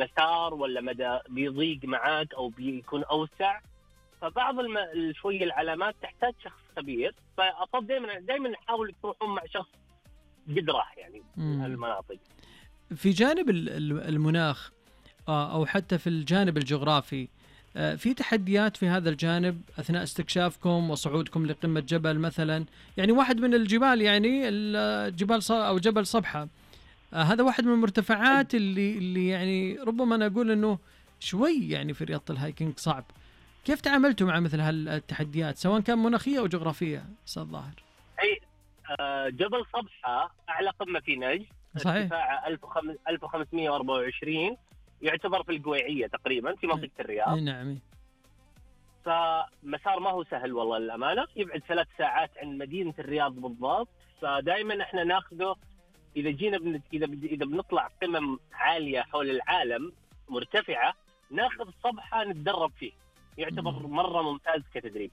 المسار ولا مدى بيضيق معاك أو بيكون أوسع. فبعض شوية العلامات تحتاج شخص خبير، فأفضل دائما نحاول تروحون مع شخص قد راح يعني المناطق. في جانب المناخ أو حتى في الجانب الجغرافي، في تحديات في هذا الجانب أثناء استكشافكم وصعودكم لقمة جبل مثلا؟ يعني واحد من الجبال، يعني الجبال أو جبل صبحة، هذا واحد من المرتفعات اللي يعني ربما أنا أقول أنه شوي يعني في رياضة الهايكينج صعب. كيف تعاملتوا مع مثل هالتحديات سواء كان مناخية أو جغرافية أستاذ ظاهر؟ أي جبل صبحة أعلى قمة في نجد، ارتفاعه 1524، يعتبر في القويعية تقريبا في منطقة الرياض. نعم. فمسار ما هو سهل والله الأمانة، يبعد 3 ساعات عن مدينة الرياض بالضبط. فدائما احنا ناخذه إذا جينا إذا بنطلع قمم عالية حول العالم مرتفعة، ناخذ صبحة نتدرب فيه، يعتبر مرة ممتاز كتدريب.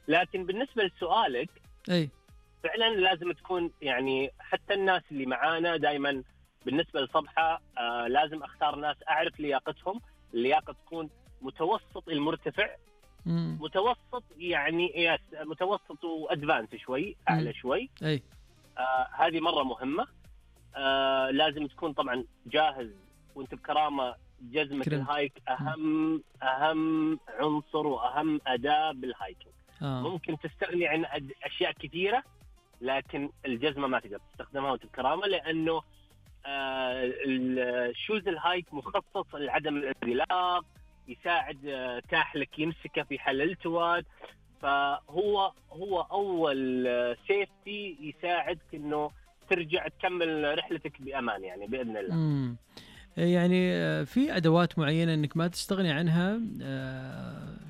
لكن بالنسبة لسؤالك، فعلا لازم تكون يعني حتى الناس اللي معانا دائما بالنسبة لصبحة لازم أختار ناس أعرف لياقتهم. اللياقة تكون متوسط المرتفع، متوسط يعني متوسط وأدفانس شوي، أعلى شوي. هذه مرة مهمة. لازم تكون طبعا جاهز وانت بكرامة. جزمة الهايك أهم عنصر وأهم أداة بالهايكينج. ممكن تستغني عن أشياء كثيرة، لكن الجزمة ما تقدر تستخدمها وانت بكرامة، لأنه الشوز الهايك مخصص لعدم الانزلاق، يساعد كاحلك يمسكه في حال الالتواء. فهو أول سيفتي يساعدك إنه ترجع تكمل رحلتك بأمان يعني بإذن الله. يعني في أدوات معينة إنك ما تستغني عنها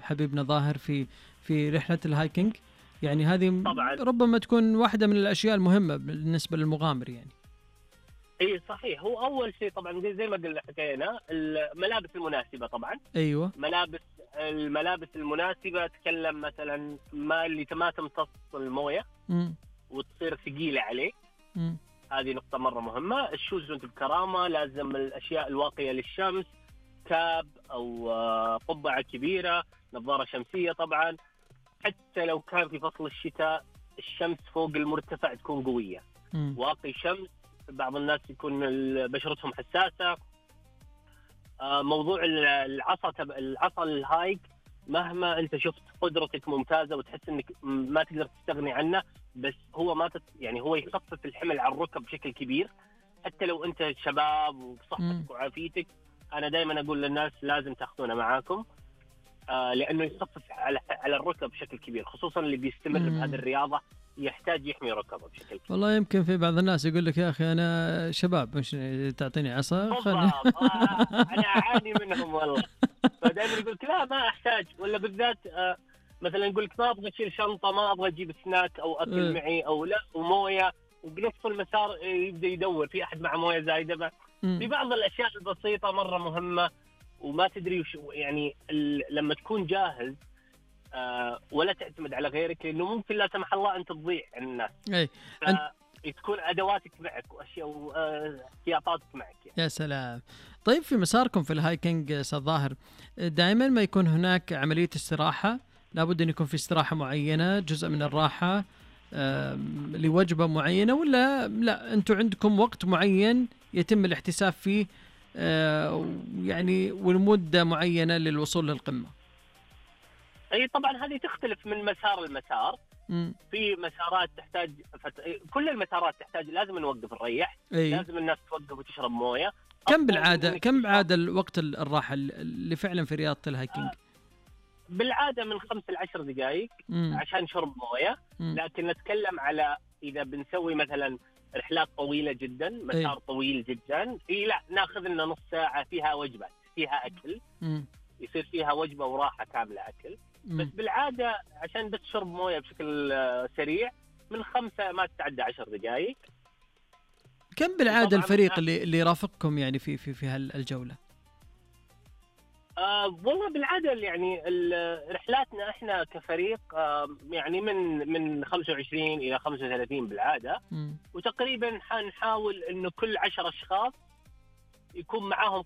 حبيبنا ظاهر في رحلة الهايكينج؟ يعني هذه طبعاً ربما تكون واحدة من الأشياء المهمة بالنسبة للمغامر يعني. اي صحيح. هو اول شيء طبعا زي ما قلنا حكينا الملابس المناسبه طبعا. ايوه، الملابس المناسبه. تكلم مثلا اللي ما تمتص المويه وتصير ثقيله عليه. هذه نقطه مره مهمه. الشوز وانت بكرامه لازم الاشياء الواقيه للشمس، كاب او قبعه كبيره، نظاره شمسيه طبعا. حتى لو كان في فصل الشتاء الشمس فوق المرتفع تكون قويه، واقي شمس. بعض الناس يكون بشرتهم حساسة. موضوع العصا الهايك، مهما أنت شفت قدرتك ممتازة وتحس أنك ما تقدر تستغني عنه، بس هو يعني هو يخفف الحمل على الركب بشكل كبير. حتى لو أنت شباب وبصحتك وعافيتك، أنا دائما أقول للناس لازم تأخذونه معاكم، لأنه يخفف على الركب بشكل كبير، خصوصا اللي بيستمر بهذه الرياضة يحتاج يحمي ركبه بشكل كبير. والله يمكن في بعض الناس يقول لك يا أخي أنا شباب، مش تعطيني عصا؟ أنا أعاني منهم والله. فدائما يقول لا ما أحتاج، ولا بالذات مثلا يقول لك ما أبغى أشيل شنطة، ما أبغى أجيب سناك أو أكل معي أو لا، وموية، وبنص المسار يبدأ يدور في أحد مع موية زايدة. في بعض الأشياء البسيطة مرة مهمة، وما تدري يعني لما تكون جاهز ولا تعتمد على غيرك، لأنه ممكن لا سمح الله أنت تضيع عن الناس. تكون أدواتك معك وأشياء واحتياطاتك معك يعني. يا سلام. طيب في مساركم في الهايكينج أستاذ ظاهر، دائما ما يكون هناك عملية استراحة؟ لابد أن يكون في استراحة معينة، جزء من الراحة لوجبة معينة، ولا لا أنتوا عندكم وقت معين يتم الاحتساب فيه يعني والمدة معينة للوصول للقمة؟ أي طبعا هذه تختلف من مسار المسار. في مسارات تحتاج كل المسارات تحتاج لازم نوقف نريح. لازم الناس توقف وتشرب موية. كم بعادة الوقت الراحة اللي فعلا في رياضة الهايكينج؟ بالعادة من 5 ل 10 دقائق عشان شرب موية. لكن نتكلم على إذا بنسوي مثلا رحلات طويلة جدا، مسار طويل جدا، لا ناخذ لنا نص ساعة فيها وجبات، فيها أكل، يصير فيها وجبة وراحة كاملة أكل. بس بالعادة عشان بس شرب موية بشكل سريع من 5 ما تتعدى 10 دقائق. كم بالعادة الفريق اللي يرافقكم يعني في هالجولة؟ والله بالعادة يعني رحلاتنا احنا كفريق يعني من 25 إلى 35 بالعادة. وتقريبا حنحاول إنه كل 10 أشخاص يكون معاهم